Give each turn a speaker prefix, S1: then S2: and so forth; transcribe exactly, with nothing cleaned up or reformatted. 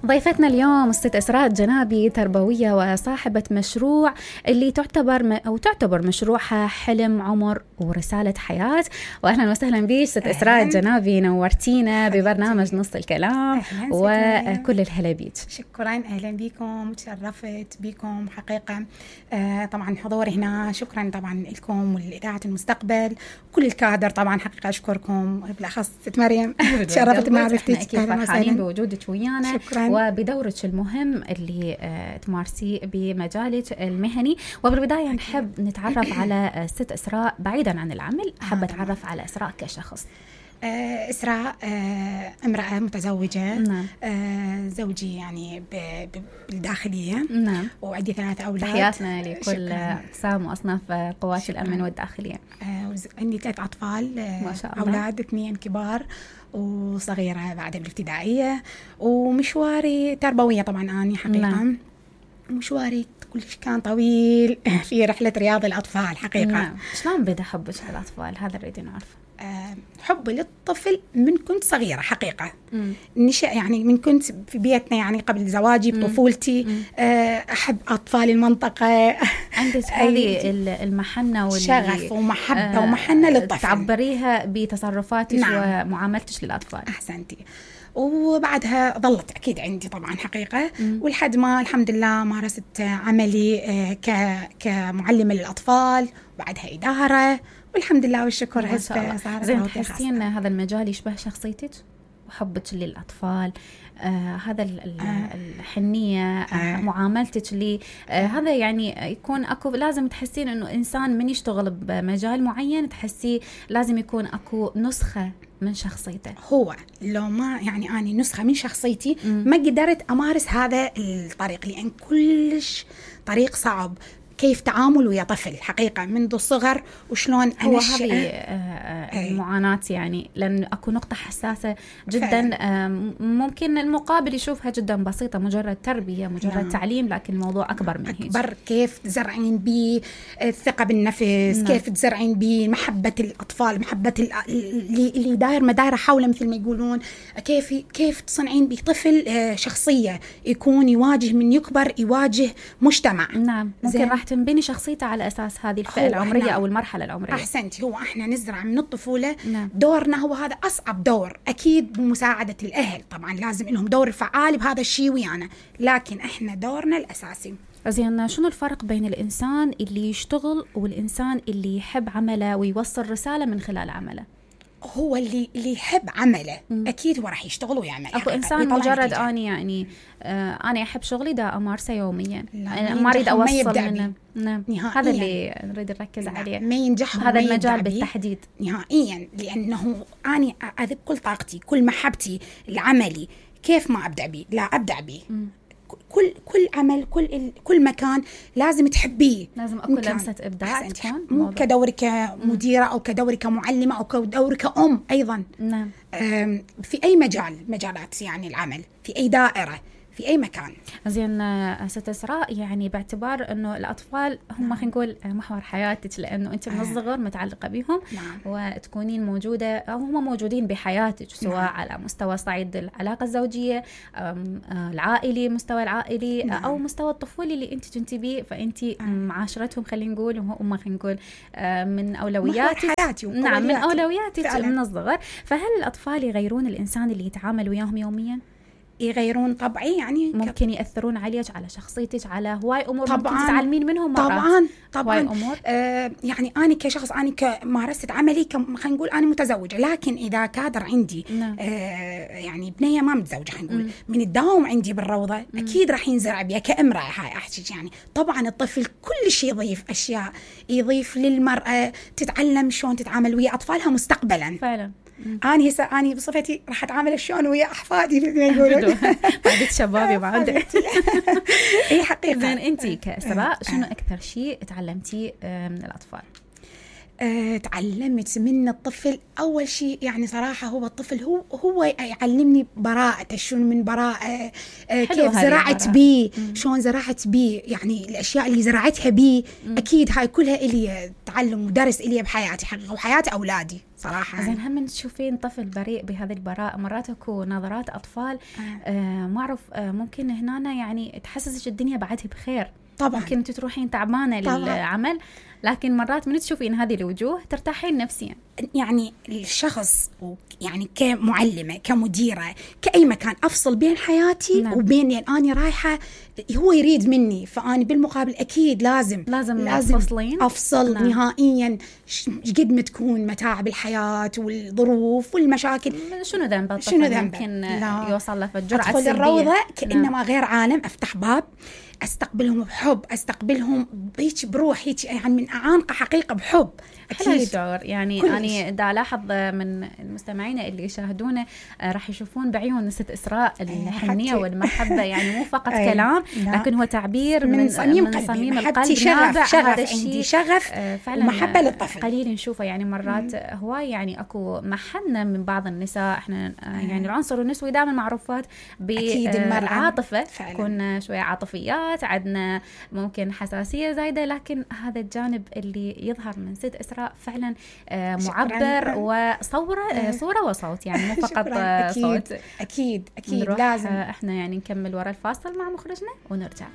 S1: ضيفتنا اليوم الست إسراء الجنابي، تربوية وصاحبة مشروع اللي تعتبر م... أو تعتبر مشروعها حلم عمر ورسالة حياة. وأهلا وسهلا بيش ست إسراء الجنابي، نورتينا ببرنامج نص الكلام وكل الهلا بيك.
S2: شكرا، أهلا بكم، تشرفت بكم حقيقة. آه طبعا حضوري هنا، شكرا طبعا لكم والإذاعة المستقبل، كل الكادر طبعا حقيقة أشكركم، بالأخص ست مريم تشرفت معرفتك.
S1: أكيد فرحانين بوجودك ويانا.
S2: شكرا.
S1: وبدورك المهم اللي تمارسيه بمجالك المهني. وبالبداية نحب نتعرف على الست إسراء بعيدا عن العمل، حابة أتعرف على إسراء كشخص.
S2: آه إسراء آه امرأة متزوجة.
S1: نعم.
S2: آه زوجي يعني بالداخلية.
S1: نعم.
S2: وعندي ثلاثة أولاد.
S1: تحياتنا لكل أقسام وأصناف قوات الأمن والداخلية.
S2: آه عندي ثلاث أطفال. آه
S1: ما شاء الله.
S2: أولاد اثنين كبار وصغيرة بعد الابتدائية. ومشواري تربوية طبعا أنا حقيقة.
S1: نعم.
S2: مشواري كلش كان طويل في رحلة رياض الأطفال حقيقة.
S1: نعم. شلون بدأ حبك للأطفال؟ هذا اللي نعرفه.
S2: أه حبي للطفل من كنت صغيرة حقيقة.
S1: مم.
S2: نشأ يعني من كنت في بيتنا، يعني قبل زواجي بطفولتي. أه أحب أطفال المنطقة.
S1: عندك هذه المحنة
S2: والشغف ومحبة أه ومحنة للطفل،
S1: تعبريها بتصرفاتك. نعم. ومعاملتك للأطفال.
S2: أحسنتي. وبعدها ظلت أكيد عندي طبعا حقيقة.
S1: مم.
S2: والحد ما الحمد لله مارست عملي كمعلمة للأطفال، وبعدها إدارة، والحمد لله والشكر هسه صارت.
S1: زين، تحسين هذا المجال يشبه شخصيتك وحبك للأطفال؟ آه هذا آه الحنية، آه آه معاملتك لي، آه هذا يعني يكون أكو، لازم تحسين إنه إنسان من يشتغل بمجال معين تحسي لازم يكون أكو نسخة من شخصيته.
S2: هو لو ما يعني أنا نسخة من شخصيتي م. ما قدرت أمارس هذا الطريق، لأن كلش طريق صعب. كيف تعامل ويا طفل حقيقة منذ الصغر، وشلون
S1: هو هذه المعاناة يعني، لأن أكو نقطة حساسة جدا. ممكن المقابل يشوفها جدا بسيطة، مجرد تربية، مجرد نعم. تعليم، لكن الموضوع أكبر من هيك.
S2: أكبر. كيف تزرعين بيه الثقة بالنفس. نعم. كيف تزرعين بيه محبة الأطفال، محبة اللي اللي داير مدايرة حوله مثل ما يقولون. كيف كيف تصنعين بيه طفل شخصية يكون يواجه من يكبر، يواجه مجتمع.
S1: نعم. ممكن راح تنبني شخصيته على أساس هذه الفئة العمرية أو المرحلة العمرية.
S2: أحسنتي. هو إحنا نزرع من الطفولة.
S1: نعم.
S2: دورنا هو هذا أصعب دور، أكيد بمساعدة الأهل طبعا، لازم لهم دور فعال بهذا الشيء ويانا، لكن إحنا دورنا الأساسي.
S1: زين، شنو الفرق بين الإنسان اللي يشتغل والإنسان اللي يحب عمله ويوصل رسالة من خلال عمله؟
S2: هو اللي اللي يحب عمله م. اكيد هو راح يشتغل ويعمل.
S1: اكو انسان مجرد اني يعني آه انا احب شغلي دا امارسه يوميا، ما اريد اوصل منه. نعم. هذا اللي نريد نركز عليه،
S2: ما ينجح
S1: هذا المجال بالتحديد
S2: نهائيا، لانه انا اذب كل طاقتي كل محبتي لعملي. كيف ما ابدع بيه؟ لا ابدع بيه. م. كل كل عمل، كل كل مكان لازم تحبيه،
S1: لازم اكو لمسه ابداع تكون،
S2: مو كدوري كمديره او كدوري كمعلمه او كدوري كأم ايضا.
S1: نعم.
S2: في اي مجال مجالات يعني العمل، في اي دائره، في أي مكان.
S1: زين ست إسراء، يعني باعتبار أنه الأطفال هم خلينا نقول محور حياتك، لأنه أنت من الصغر متعلقة بهم.
S2: نعم.
S1: وتكونين موجودة أو هم موجودين بحياتك، سواء نعم. على مستوى صعيد العلاقة الزوجية، العائلي، مستوى العائلي. نعم. أو مستوى الطفولي اللي أنت تنتبيه، فأنت معاشرتهم خلينا نقول وهم خلينا نقول من أولوياتك.
S2: حياتي
S1: نعم، من أولوياتك فعلا. من الصغر. فهل الأطفال يغيرون الإنسان اللي يتعامل وياهم يوميا؟
S2: يغيرون طبعي، يعني
S1: ممكن يأثرون عليك، على شخصيتك، على هواي أمور
S2: طبعاً
S1: ممكن تتعلمين منهم مرات.
S2: طبعاً طبعاً
S1: أمور.
S2: آه يعني أنا كشخص، أنا كمارست عملي، خلينا نقول أنا متزوجة، لكن إذا كادر عندي
S1: نعم.
S2: آه يعني بنية ما متزوجة خلينا نقول من الدوام عندي بالروضة، مم. أكيد راح ينزرع بيها كامرأة. هاي أحكي يعني طبعاً الطفل كل شيء يضيف أشياء، يضيف للمرأة تتعلم شلون تتعامل ويا أطفالها مستقبلاً.
S1: فعلا.
S2: أنا هسه أنا بصفتي راح أتعامل شلون ويا أحفادي مثل ما يقولون.
S1: بعدك شبابي بعد.
S2: إيه حقيقة.
S1: زين، أنتي كإسراء شنو أكثر شيء تعلمتي من الأطفال؟
S2: أه تعلمت من الطفل أول شيء يعني صراحة هو الطفل هو هو يعلمني براءة، شلون من براءة، أه كيف زرعت بيه، شلون زرعت بيه، يعني الأشياء اللي زرعتها بيه أكيد هاي كلها إلي تعلم ودرس إلي بحياتي حقيقة وحياة أولادي صراحة.
S1: زين هم تشوفين طفل بريء بهذه البراءة، مرات اكو نظرات أطفال آه. آه ما أعرف آه ممكن هنا يعني تحسسك الدنيا بعدها بخير.
S2: طبعا
S1: ممكن انت تروحين تعبانة طبعاً للعمل، لكن مرات من تشوفين هذه الوجوه ترتاحين نفسيا.
S2: يعني الشخص يعني كمعلمة كمديرة كأي مكان أفصل بين حياتي نعم. وبين يعني أنا رايحة هو يريد مني، فأنا بالمقابل أكيد لازم
S1: لازم, لازم
S2: أفصل نعم. نهائيا قد ما تكون متاعب الحياة والظروف والمشاكل.
S1: شنو ذنب الطفل؟
S2: شنو ذنب؟
S1: ممكن لا. يوصل له فالجرعة
S2: أدخل الروضة كأنما نعم. غير عالم، أفتح باب أستقبلهم بحب، أستقبلهم هيك بروح هيك يعني من أعانق حقيقة بحب.
S1: أكيد الشعور يعني أنا دا ألاحظ من المستمعين اللي يشاهدونه راح يشوفون بعيون ست إسراء الحنية والمحبة، يعني مو فقط كلام لكن هو تعبير من, من صميم قلبي، صميم القلب.
S2: شغف شغف عندي شغف ومحبة للطفل
S1: قليل نشوفه يعني مرات هواي يعني أكو محنة من بعض النساء. إحنا يعني العنصر النسوي دائما معروفات بالعاطفة، تكون شوية عاطفيات، عندنا ممكن حساسية زايدة، لكن هذا الجانب اللي يظهر من ست إسراء فعلا معبر وصورة صورة وصوت، يعني مو فقط
S2: أكيد
S1: صوت.
S2: أكيد أكيد لازم
S1: احنا يعني نكمل وراء الفاصل مع مخرجنا ونرجع.